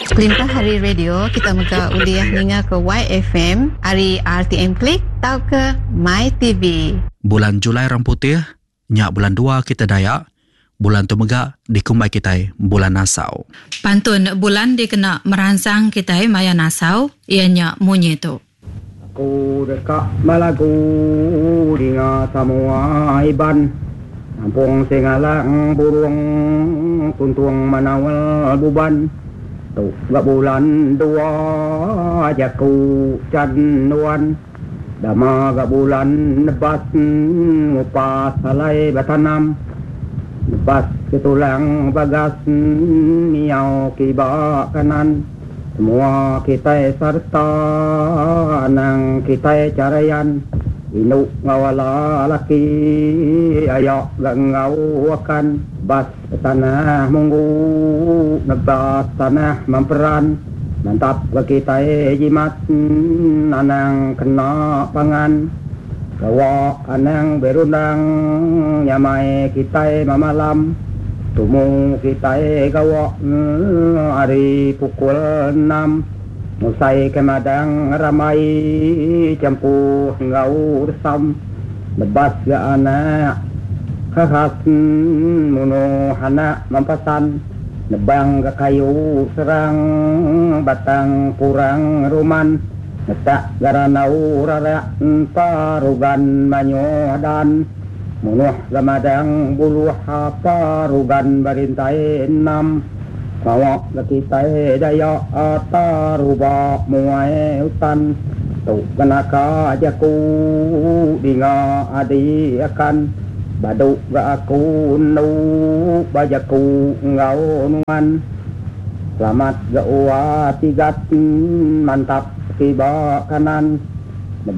Kelimpah ari radio, kita mega ulih ningaka YFM ari RTM Click tauka MyTV. Bulan Julai Orang Putih nya bulan dua kita Dayak. Bulan tu mega dikumbai kitai bulan nasau. Pantun bulan dikena meransang kitai maya nasau iya nya munyi tu. Aku deka belagu dinga samoa Iban Nampung singalang burung tuntung menaul buban Tu ga bulan dua jaku chan nuan Dama ga bulan nebas ngupas alai betanam Nebas ke tulang bagas miau kiba kanan. Semua kitai sereta anang kitai charayan indu enggau ala laki aya ga enggau akan bas tanah munggu nebas tanah memperan mantap ga kitai jimat anang kena pangan gawa anang berundang nyamai kitai memalam. Tumu kitai gawa ari pukul enam ngusai ke madang rambai champuh enggau resam nebas ga anak khas munuh anak mempasan nebang ga kayu serang batang purang ruman netak ga ranau rarak parugan mayuh dan. Munuh ga madang buluh apa rugan berintai enam Pengawa ga kitai Dayak taruba muai utan Tu ga naka jaku dinga adi akan Badu ga aku endu ba jaku enggau nuan Selamat ga ua tigat mantap kiba kanan.